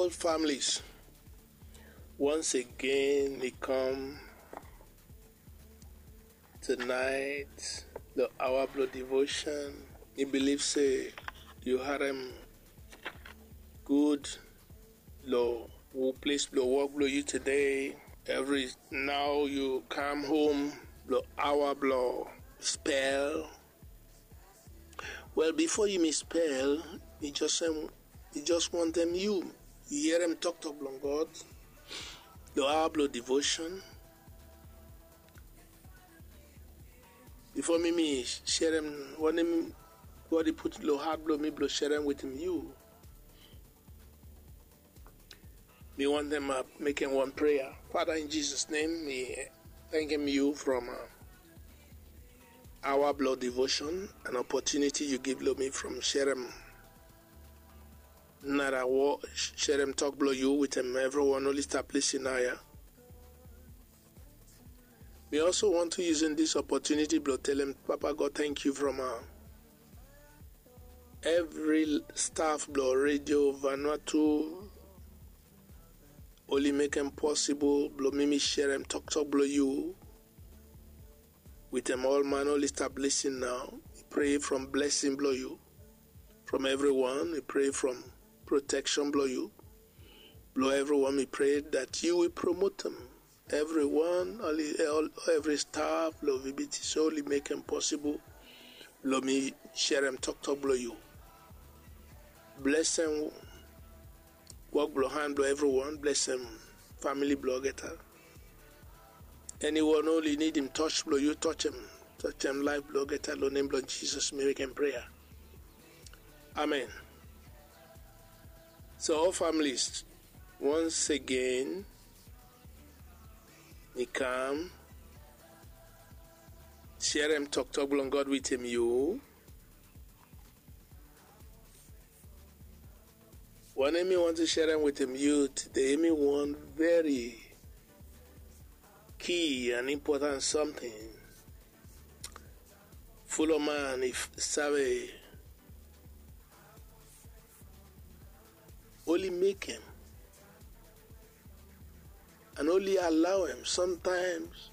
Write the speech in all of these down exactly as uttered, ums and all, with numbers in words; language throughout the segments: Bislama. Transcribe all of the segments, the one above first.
All families, once again mi kam tonight lo awa blo devotion. Mi bilif se yu harem gud lo ples blo wok blo yu today. Evri nao yu kam hom lo awa blo spel. Wel, bifo yumi spel, mi just wantem yu yerem toktok blong God lo awa blo devotion. Bifo mi mi serem wanem God i put lo hat blo mi blo serem wetem yu, mi wantem mekem wan prea. Father, in Jesus' name, mi tangkem yu from awa blo devotion, an opportunity yu give lo mi from serem nara wok, serem tok blo yu wetem evriwan oli stap lisin nao ya. Mi also want to using this opportunity blo telem Papa God tangkiu from evri staff blo Radio Vanuatu oli mekem posibol blo mi mi serem toktok blo yu wetem ol man oli stap lisin nao. Mi prea from blesing blo yu from evriwan. Mi prea from proteksen blo yu blo evriwan. Mi prea dat yu wi promotem evriwan, evri staff blo V B T C oli mekem posibol blo mi serem toktok blo yu. Blesem wok blo han blo evriwan. Blesem famili blo olgeta. Eniwan oli nidim tos blo yu, tosem, tosem laef blo olgeta. Lo nem blo Jisas mi mekem prea. Amen. So ol familis, once again mi kam serem toktok blong God wetem yu. Wanem mi wantem serem wetem yu tede, hemi wan very key and important something. Folo man i save oli mekem and oli alawem. Somtaems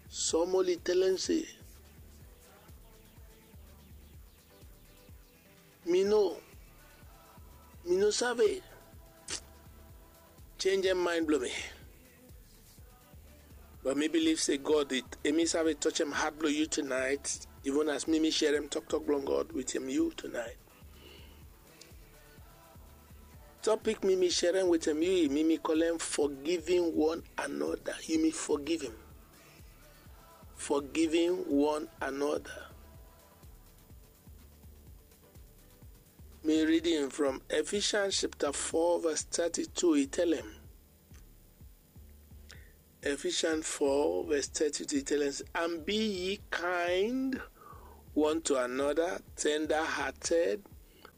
som oli telem se, mi no, mi no save. Jenjem maen blong mi. But mi bilif se God, hemi save tosem hat blong yu tunaet, even as mi mi serem toktok blong God wetem yu tunaet. Topik mi mi serem wetem yu, mi mi kolem forgiving one another. Yumi forgivem. Forgiving one another. Mi ridim from Ephesians chapter four verse thirty-two, i talem. Ephesians four verse thirty-two, i talem, and be ye kind one to another, tender-hearted,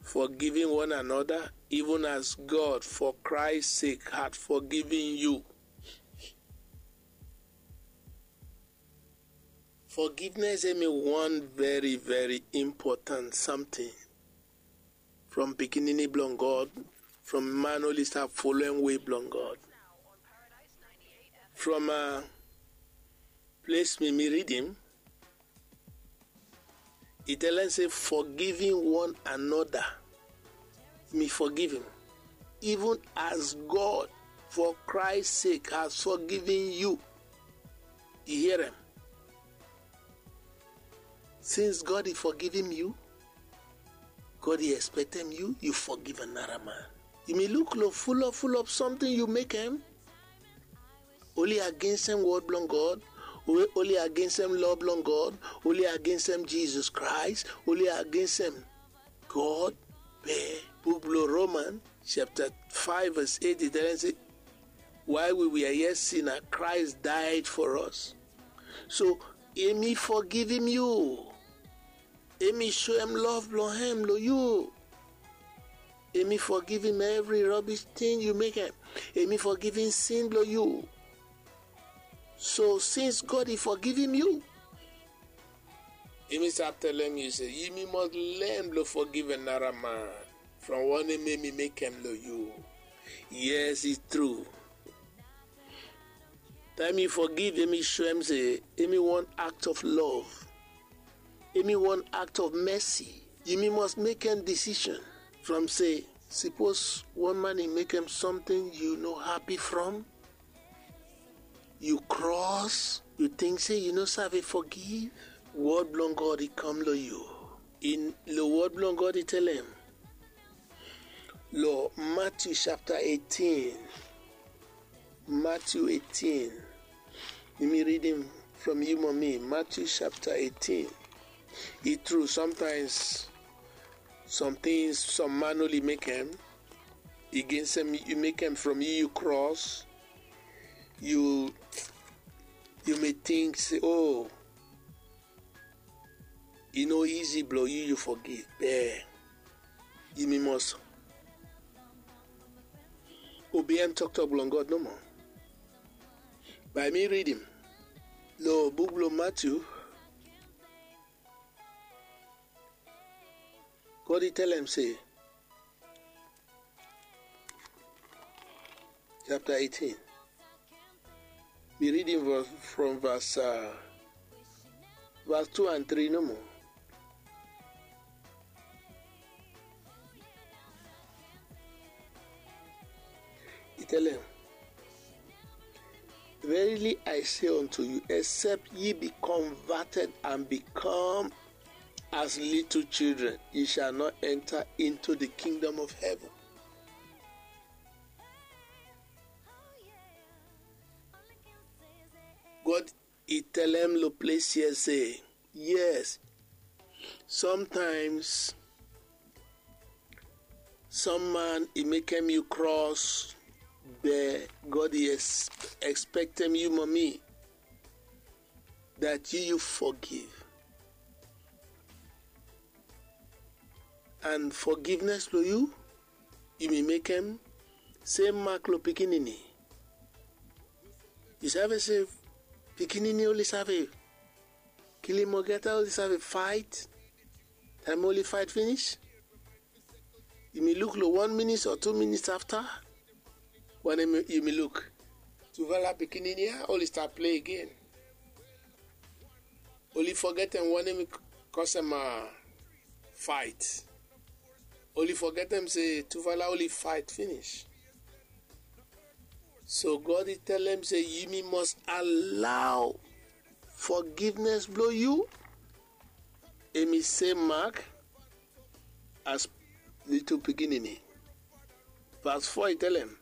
forgiving one another, even as God for Christ's sake hath forgiven you. Forgiveness hemi wan very, very important something from pikinini blong God, from man oli stap folem wei blong God. From ples mi mi ridim, i talem se forgiving one another. Mi forgivem, even as God for Christ's sake has forgiven you. I herem. Since God i forgivem yu, God i ekspektem yu, yu forgiv anara man. Yumi luk lo fulop fulop somting yu mekem. Oli agensem wod blong God, oli agensem loa blong God, oli agensem Jisas Kraes, oli agensem God. Be buk blong Roman chapta faef vas eit i talem se, while we were yet sinner, Christ died for us. So hemi fogivim yu. Hemi soem lov blong hem long yu. Hemi fogivim evri robis ting yu mekem. Hemi fogivim sin blong yu. So sins God i fogivim yu, hemi stap telem yu se yumi mos len blong fogiv anara man from wanem hemi mekem long yu. Yes, it's true. Taem yu forgive, hemi show hem se hemi wan act of love, hemi wan act of mercy. Yumi must mekem decision from se, sipos wan man i mekem something yu no happy from, yu cross, yu think se yu no save forgive, word blong God i kam lo yu. In lo word blong God i tell hem lo Matthew chapter eighteen. Matthew eighteen. Yumi read hem from yu mommy. Matthew chapter eighteen. I true, sometimes some things some man oli mekem, i get se i mekem from yu, yu cross, yu, yu may think se, oh, i no easy blo yu, yu forgive. Be yumi must obeim toktok blong God nomo. Bae mi read hem lo buk blo Matthew. God i tell hem se, chapter eighteen. Mi read hem from verse, uh, verse two and three nomo. I tell hem, verily I say unto you, except ye be converted and become as little children, ye shall not enter into the kingdom of heaven. God i tell hem lo ples ya se, yes, sometimes some man i mekem yu cross, be God i expectem yu mommy that yu, yu forgive. And forgiveness lo yu, yu may mekem same mark lo pikinini. Yu save se pikinini oli save kilim olgeta, oli save fight. Taem oli fight finish, yu may look lo one minute or two minutes after, wanem yu may look? Tufala pikinini ya oli stap play again. Oli fogetem wanem i kosem fight. Oli fogetem se tufala oli fight finish. So God i tell hem se yumi must allow forgiveness blo yu hemi same mark as little pikinini. Verse four i tell hem,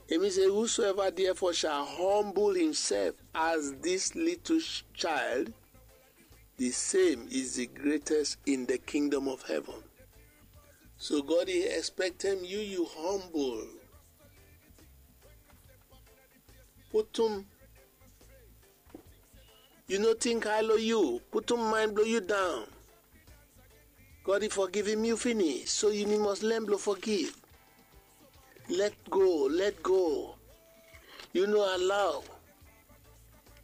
hemi se, whosoever therefore shall humble himself as this little child, the same is the greatest in the kingdom of heaven. So God i expectem yu, yu humble. Putum, yu no think high lo yu, putum mind blo yu down. God i forgivem yu finish, so yumi must learn blo forgive. Let go, let go. Yu no allow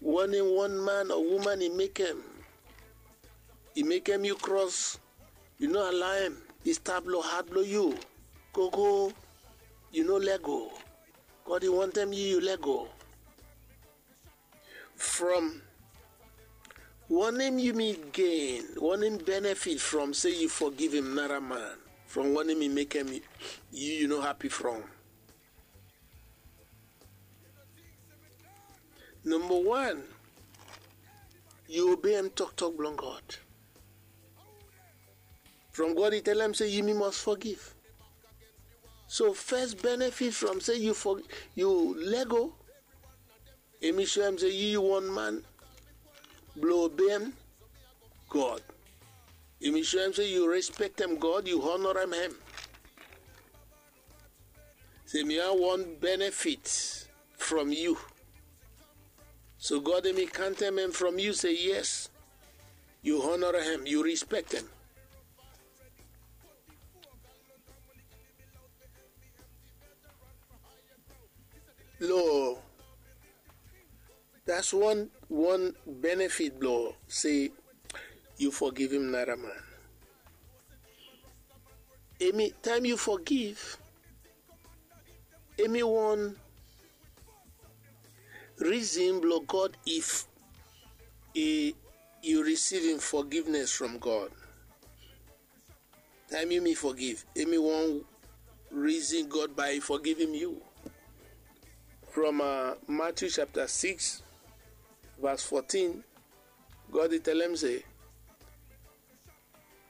wanem one man or woman i mekem, i mekem yu cross, yu no allow hem i stap lo heart blo yu. Gogo, yu no let go. God i wantem yu, yu let go. From wanem yumi gain, wanem benefit from se yu forgivem nara man from wanem i mekem yu, yu no happy from? Nomba wan, yu obeim toktok blong God. From God i tell hem se yumi must forgive. So first benefit from se yu for, yu let go, hemi show hem se yu, yu wan man blo obeim God. Hemi show hem se yu respektem God, yu honorem hem. Se hemi wan benefit from yu. So God hemi kantem hem from yu se yes, yu honorem hem, yu respektem. Lo, that's one, one benefit blo se yu forgivem nara man. Hemi taem yu forgive, Hemi wan reason blong God if i yu risivim forgiveness from God. Taem yumi forgiv, hemi wan reason God bae i forgivim yu. From Matthew chapter six verse fourteen, God i telem se,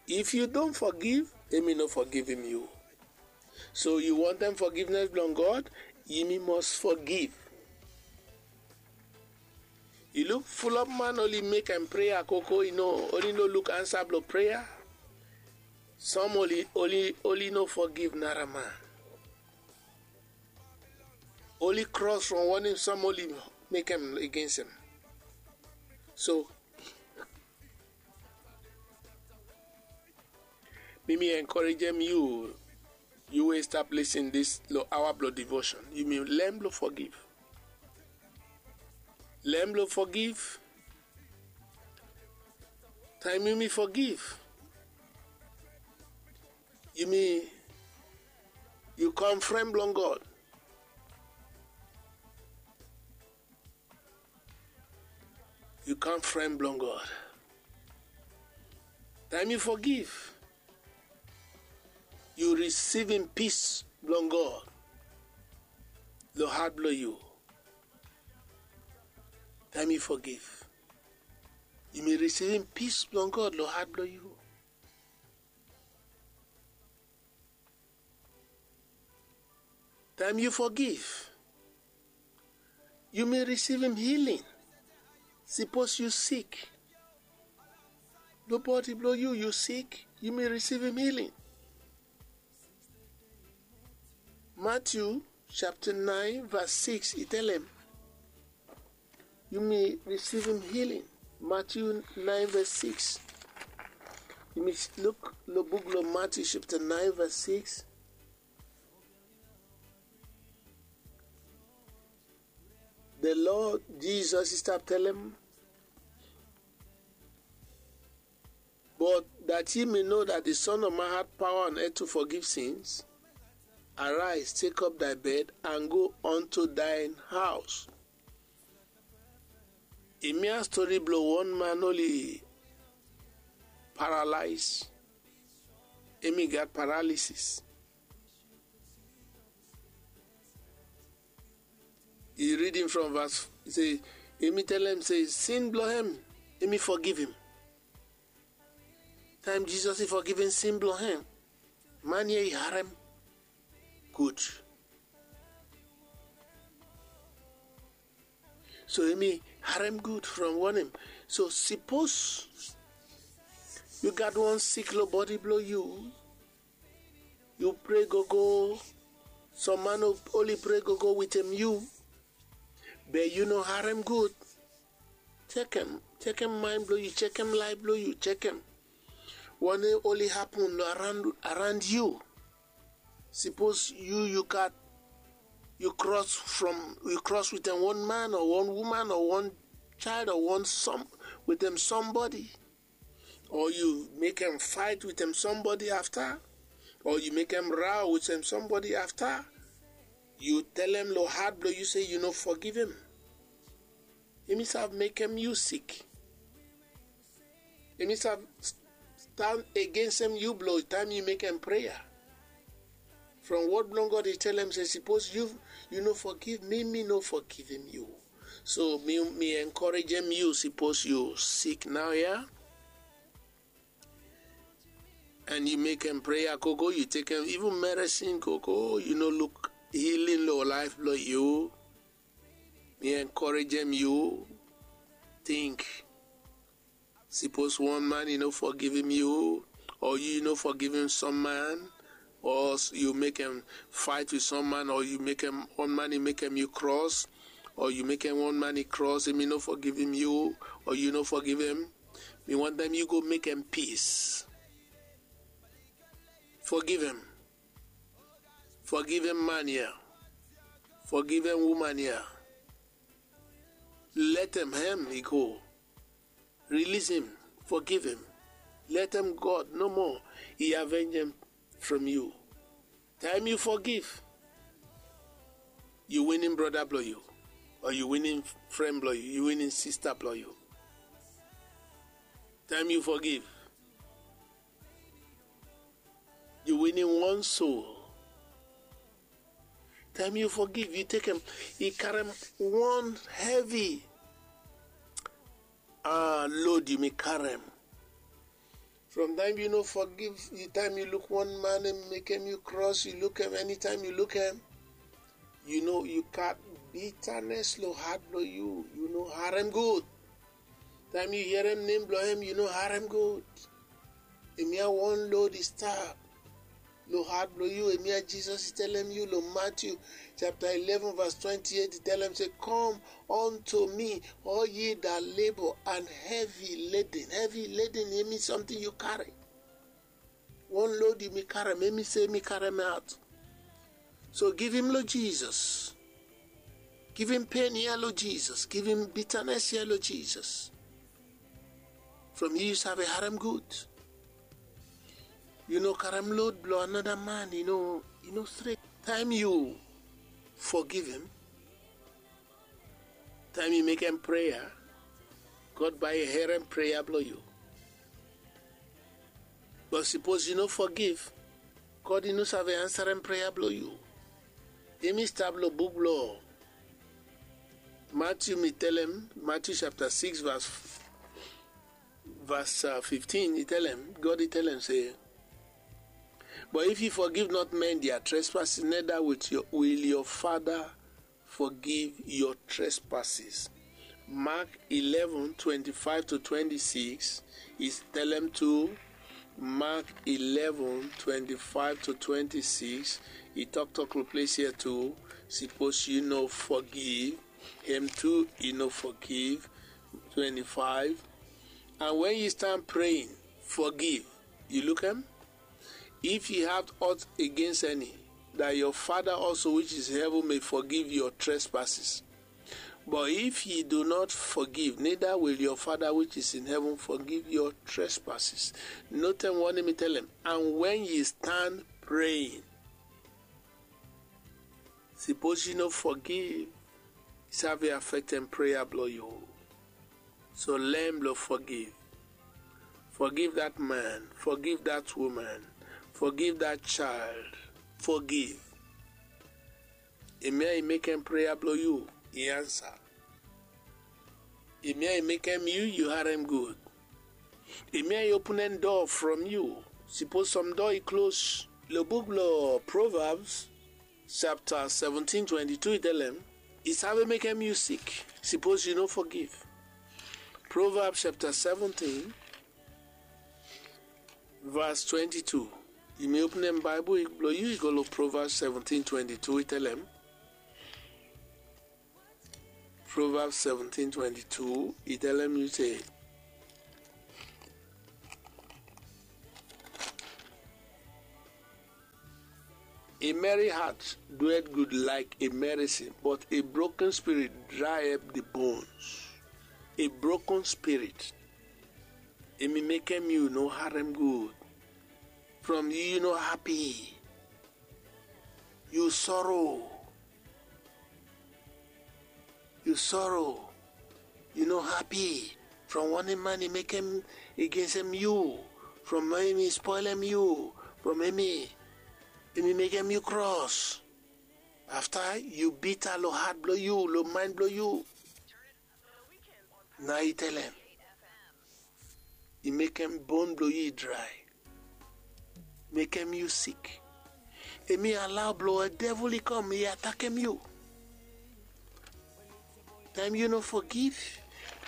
if yu don forgiv, hemi no forgivim yu. So yu wantem forgiveness blong God, yumi must forgiv. Yu luk fulop man oli mekem prea koko, i no, oli no luk ansa blong prea. Som oli, oli, oli no forgiv nara man. Oli kros from wanem som oli mekem against hem. So mi mi encouragem yu, yu we stap lisin dis long aoa blong devotion, yumi learn blong forgiv. Learn blong forgiv. Taem yumi forgiv, yumi, yu kam fren blong God. Yu kam fren blong God. Taem yu forgiv, yu risivim pis blong God long hat blong yu. Taem yu forgiv, yumi risivim pis blong God long hat blong yu. Taem yu forgiv, yumi risivim healing. Sipos yu sik, long bodi blong yu, yu sik, yumi risivim healing. Matthew chapter nine verse six i telem, yumi risivim healing. Matthew nine verse six. Yumi luk long buk blong Matthew chapter nine verse six. The Lord Jesus i stap telem, but that ye may know that the Son of Man had power on earth to forgive sins, arise, take up thy bed, and go unto thine house. Hemia stori blong wan man oli paralyze. Hemi gat paralysis. I ridim from verse, i se, hemi telem se sin blong hem, hemi fogivim. Taem Jisas i fogivim sin blong hem, man ya i harem gud. So hemi harem gud from wanem? So sipos yu gat wan sik long bodi blong yu, yu prea gogo, som man oli prea gogo wetem yu, be yu no harem gud. Jekem, jekem mind blong yu, jekem laef blong yu, jekem wanem oli hapun long around, around yu. Sipos yu, yu gat, yu kros from, yu kros wetem wan man o wan woman o wan child o wan som, wetem sombodi, o yu mekem faet wetem sombodi afta, o yu mekem row wetem sombodi afta, yu telem long hat blong yu se yu no fogivim. Hemi save mekem yu sik. Hemi save stan agensem yu blong taem yu mekem prea. From wod blong God i telem se sipos yu, yu no fogiv mi, mi no fogivim yu. So mi, mi enkorejem yu, sipos yu sik naoia, and yu mekem prea gogo, yu tekem even meresin gogo, yu no luk healing long laef blong yu, mi enkorejem yu, ting. Sipos wan man i no fogivim yu, o yu no fogivim som man, o yu mekem faet wit som man, o yu mekem, wan man i mekem yu kros, o yu mekem wan man i kros, hemi no fogivim yu, o yu no fogivim, mi wantem yu go mekem pis. Fogivim. Fogivim man ya. Fogivim woman ya. Letem hem i go. Release him, forgive him. Letem God nomo i avenjem from yu. Taem yu fogiv, yu winim brada blong yu, o yu winim fren blong yu, yu winim sista blong yu. Taem yu fogiv, yu winim wan soul. Taem yu fogiv, yu tekem, i karem wan hevi ah, load yumi karem. From taem yu no fogiv, taem yu luk wan man hem mekem yu kros, yu lukem, enitaem yu lukem, yu no, yu gat bitanes lo hat blo yu, yu no harem gud. Taem yu hierem nem blo hem, yu no harem gud. Hemia wan load i stap lo hat blo yu. Hemia Jisas i telem yu lo Matthew chapter eleven verse twenty-eight, i telem se, "Come unto me, all ye that labor and heavy laden." Heavy laden, hemi something yu karem. Wan load yumi karem, hemi se yumi karem aot. So givim lo Jisas. Givim pen ya lo Jisas. Givim bitanes ya lo Jisas. From yu, yu save harem gud. Yu no karem load blo another man, yu no, yu no stret. Taem yu fogivim, taem yu mekem prea, God bae i herem prea blo yu. But sipos yu no fogiv, God i no save ansarem prea blo yu. Hemi stap lo buk blo Matthew, mi telem, Matthew chapter six verse, verse, uh, fifteen, i telem, God i telem se, "But if you forgive not men their trespasses, neither will your, will your Father forgive your trespasses." Mark eleven twenty-five to twenty-six, i telem tu. Mark eleven twenty-five to twenty-six, i toktok lo ples ya tu. Sipos yu no fogiv, hem tu i no fogiv. Twenty-five. And when you stand praying, forgive. Yu lukem? If ye have aught against any, that your Father also which is in heaven may forgive your trespasses. But if ye do not forgive, neither will your Father which is in heaven forgive your trespasses. Notem wanem i telem. And when ye stand praying, sipos yu no fogiv, i save afektem prea blo yu. So learn blo fogiv. Forgive that man, forgive that woman, forgive that child. Forgive. Hemia i mekem prea blo yu i ansa. Hemia i mekem yu, yu harem gud. Hemia i openem doa from yu. Sipos some doa i klos. Lo buk blo Proverbs chapter seventeen twenty-two i telem, i save mekem yu sik sipos yu no fogiv. Proverbs chapter seventeen verse twenty-two. Yumi openem Baebol blo yu, i go lo Proverbs seventeen twenty-two, i telem. Proverbs seventeen twenty-two, i telem yu se, "A merry heart doeth good like a medicine, but a broken spirit dry up the bones." A broken spirit, hemi mekem yu no harem gud. From yu, yu no hapi. Yu soro. Yu soro. Yu no hapi from wanem man i mekem agensem yu, from hemi spolem yu, from hemi, hemi mekem yu kros. Afta yu bita lo hat blo yu, lo maen blo yu. Nao i telem, i mekem bon blo yu i drae, mekem yu sik. Hemi alao blo devil i kam i atakem yu. Taem yu no fogiv,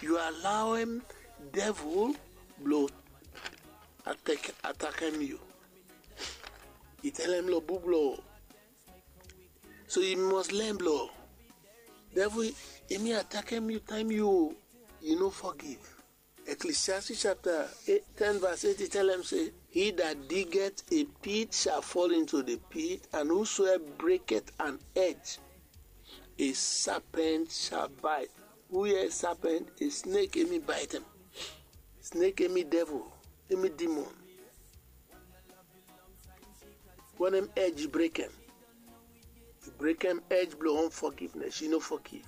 yu alaoem devil blo atak, atakem yu. I telem lo buk blo So yu must learn blo devil, hemi atakem yu taem yu, yu no fogiv. Ecclesiastes chapter ten verse eight i telem se, "He that diggeth a pit shall fall into the pit, and whosoever breaketh an hedge, a serpent shall bite." Hu hia serpent? A snake hemi baetem. Snake hemi devil, hemi demon. Wanem hedge i brekem? I Brekem edge blong unforgiveness, yu no forgive.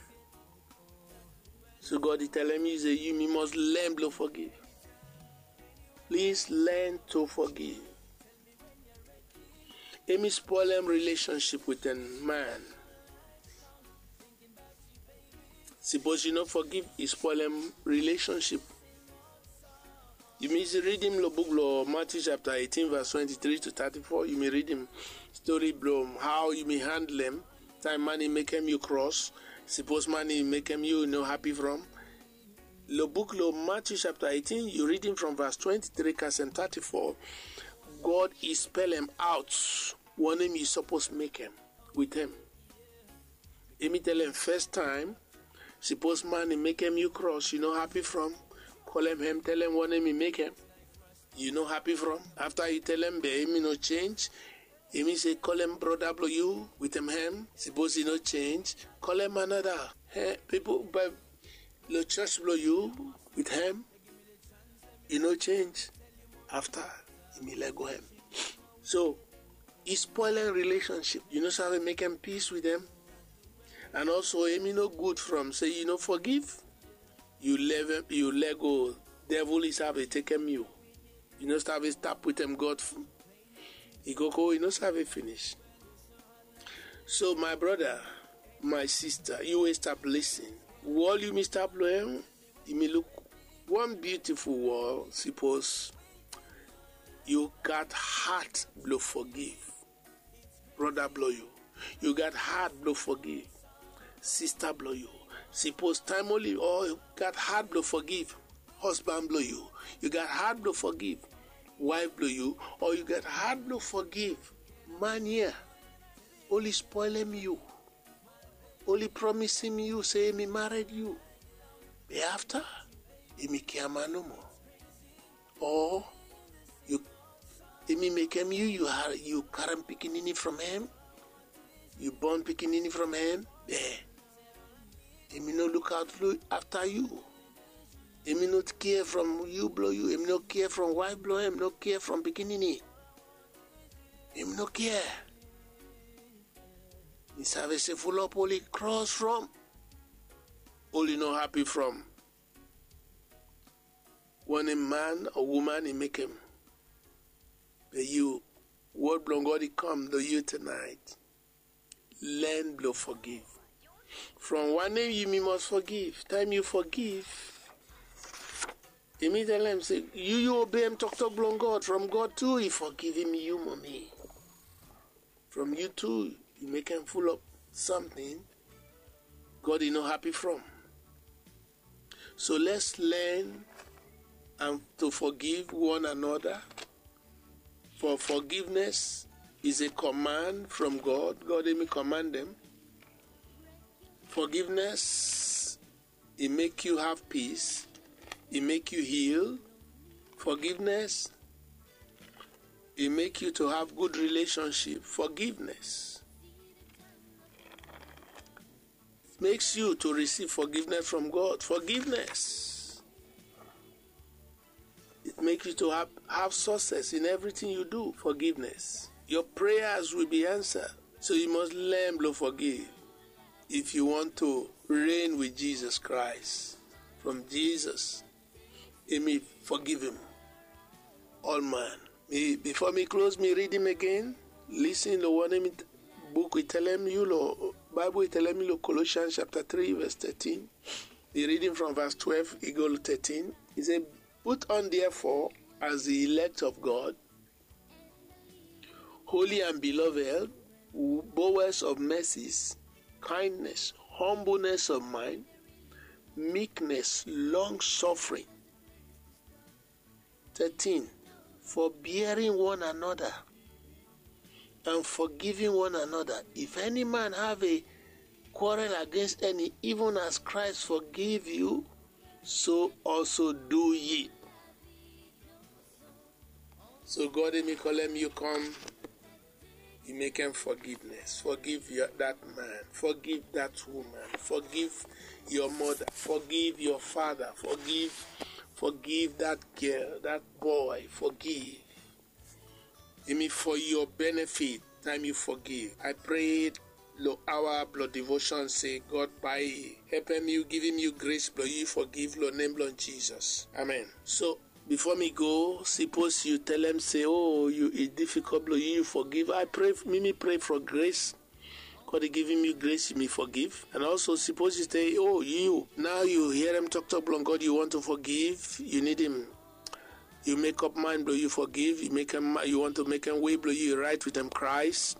So God i telem yu se yu mi must learn blong forgive. Please learn to forgive. Emi spoilem relationship with a man. Sipos yu no forgive, i spoilem relationship. Yumi ridim long buk blong Matthew chapter eighteen verse twenty-three to thirty-four. Yumi ridim story blong how yumi handlem taem man i mekem yu cross. Sipos man i mekem yu no happy from. Long buk long Matthew chapter eighteen, yu ridim from verse twenty-three kasem thirty-four. God i spelem out wanem yu suppose mekem with him. Emi telem first time, sipos man i mekem yu cross, yu no happy from, kolem hem, telem wanem i mekem yu no happy from. Afta yu telem be emi no change, emi se kolem broda blong yu, wetem hem. Sipos i no change, kolem another. He, pipol by long church blong yu, with hem. I no change. Afta emi lego hem. So i spoilem relationship. Yu no save mekem peace with dem. And also emi no good from se yu no forgive. Yu lego, devil i save tekem yu. Yu no save stap wetem God. I go go, i no save finish. So my broda, my sista, yu we stap lisin, wol yumi stap long hem. Yumi luk wan beautiful wol. Sipos yu gat hat blong forgive broda blong yu, yu gat hat blong forgive sista blong yu. Sipos taem oli o yu gat hat blong forgive husband blong yu, yu gat hat blong forgive wife blong yu, o yu gat hat blong forgive man ya, oli spoilem yu. Oli promisim yu se emi mared yu, be afta emi kiaman nomo. O yu, emi mekem yu, yu karem pikinini from hem, yu bon pikinini from hem, be emi no lukaot afta yu. Emi no kea from yu blong yu, emi no kea from waef blong hem, no kea from pikinini. Emi no kea. Mi save se fulap oli cross from, oli no happy from wanem man o woman i mekem. Be yu, word blong God i kam long yu tonight. Learn blong forgive. From wanem yumi must forgive? Taem yu forgive, emi telem se yu, yu obeim toktok blong God, from God tu i fogivim yu, mami. From yu tu yu mekem fulap samting, God i no happy from. So let's learn and to forgive one another. For forgiveness is a command from God. God emi command dem. Forgiveness, e make you have peace, e make you heal. Forgiveness, e make you to have good relationship. Forgiveness makes you to receive forgiveness from God. Forgiveness, it makes you to have, have success in everything you do. Forgiveness. Your prayers will be answered. So you must learn to forgive if you want to reign with Jesus Christ. From Jesus, emi forgive him. All man. Mi, before mi close, mi read him again. Listen lo wanem buk i telem yu lo, Bible i telem yu lo Colossians chapter three verse thirteen. I read him from verse twelve, i go lo thirteen. I se, put on therefore as the elect of God, holy and beloved, bowels of mercies, kindness, humbleness of mind, meekness, long suffering. Thirteen, forbearing one another and forgiving one another. If any man have a quarrel against any, even as Christ forgive you, so also do ye. So God emi kolem yu come, i mekem forgiveness. Forgive your, that man. Forgive that woman. Forgive your mother. Forgive your father. Forgive, forgive that girl, that boy. Forgive. Emi for your benefit. Time you forgive, I prayed lo aoa blo devotion se God bae i hepem yu, givim yu gres blo yu fogiv lo nem blo Jisas. Amen. So bifo mi go, sipos yu telem se o, yu i difikol blo yu yu fogiv, a pray, mi mi pray fo gres. God i givim yu gres yu mi fogiv. And also sipos yu se o, yu nao yu hierem toktok blong God, yu want to fogiv, yu nidim yu mekop mind blo yu fogiv, yu mekem, yu want to mekem wei blo yu rait wetem Kraes.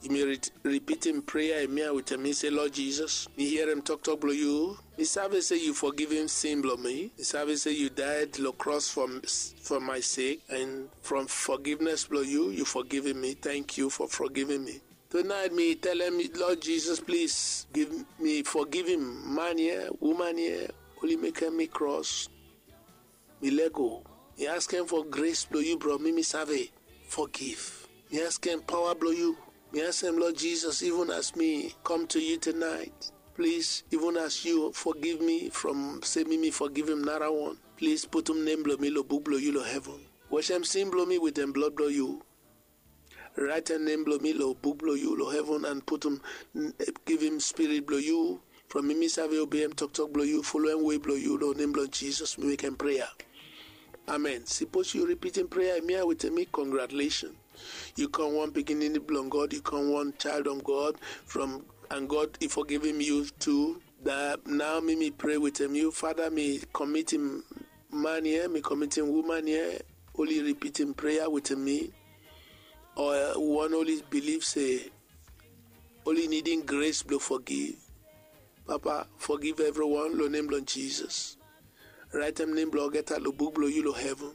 Yu mi ripitim prea ya wetem mi se, Lord Jisas, mi hierem toktok blo yu. Mi save se yu fogivim sin blo mi. Mi save se yu daed lo kros fo my sek, and from fogivnes blo yu yu fogivim mi. Tangkiu fo fogivim mi. Tunaet mi telem, Lord Jisas, plis giv mi, fogivim man ya, uman ya, oli mekem mi kros. Mi lego. Mi askem fo gres blo yu bro, mi mi save fogiv. Mi askem paoa blo yu. Mi askem, Lord Jisas, ivun as mi kam to yu tunaet, plis, ivun as yu fogiv mi from se mi mi fogivim narawan, plis putum nem blo mi lo buk blo yu lo heven. Wasem sin blo mi wetem blod blo yu. Raetem nem blo mi lo buk blo yu lo heven and putum, givim spirit blo yu from mi mi save obeem toktok blo yu, foloem wei blo yu, lo nem blo Jisas mi mekem prea. Amen. Sipos yu ripitim prea ya wetem mi, congratulation. Yu kam wan pikinini blong God, yu kam wan child of God, from, and God i fogivim yu tu. Da nao mi mi pray wetem yu, Fada, mi komitim man ya, mi komitim uman ya, oli ripitim prea wetem mi, o wan oli bilif se oli nidim gres blo fogiv. Papa, fogiv evriwan lo nem blo Jisas. Raetem nem blo olgeta lo buk blo yu lo heven.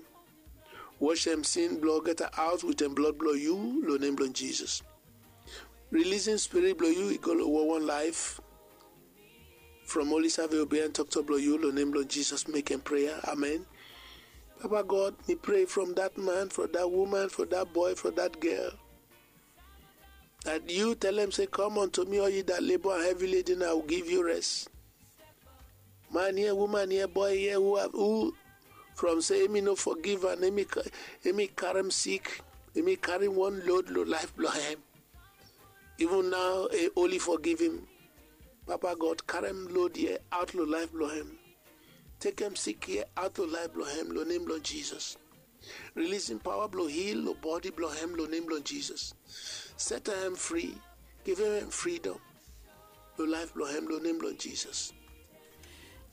Wasem sin blo olgeta aot wetem blod blo yu lo nem blo Jisas. Rilisim spirit blo yu i go lo wawan laef from oli save obeem toktok blo yu lo nem blo Jisas mekem prea. Amen. Papa God, mi pray from dat man, fo dat uman, fo dat boe, fo dat gel, dat yu telem se, come unto me all ye that labor and heavy laden, I will give you rest. Man ya, uman ya, boe ya, hu from se emi no fogiv and emi karem sik, emi karem wan lod lo laef blo hem. Ivun nao oli fogivim. Papa God, karem lod ya aot lo laef blo hem. Tekem sik ya aot lo laef blo hem lo nem blo Jisas. Rilisim paoa blo hil lo bodi blo hem lo nem blo Jisas. Setem hem fri. Givim hem fridom lo laef blo hem lo nem blo Jisas.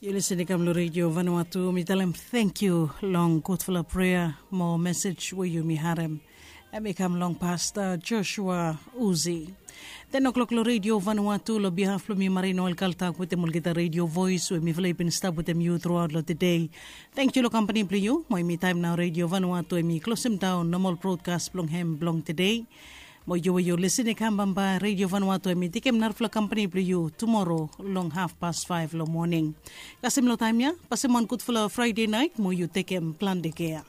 Yu lisin i kam lo Redio Vanuatu, mi talem tangkiu long gudfala prea mo mesej we yumi harem. Hem i kam long Pasta Joshua Uzi. Ten o'klok lo Redio Vanuatu, lo bihaf blo mi, Marie Noel Kaltak, wetem olgeta Redio Voes we mifala i bin stap wetem yu truaot lo tede. Tangkiu lo kampani blo yu. Mo hem i taem nao Redio Vanuatu hem i klosemdaon nomol brodkas blong hem blong tede. Mo yu we yu lisin i kam bambae, Redio Vanuatu hem i tekem narafala kampani blo yu tumoro long hafpas faef lo moning. Kasem lo taem ya, pasem wan gudfala Fraede naet mo yu tekem plante kea.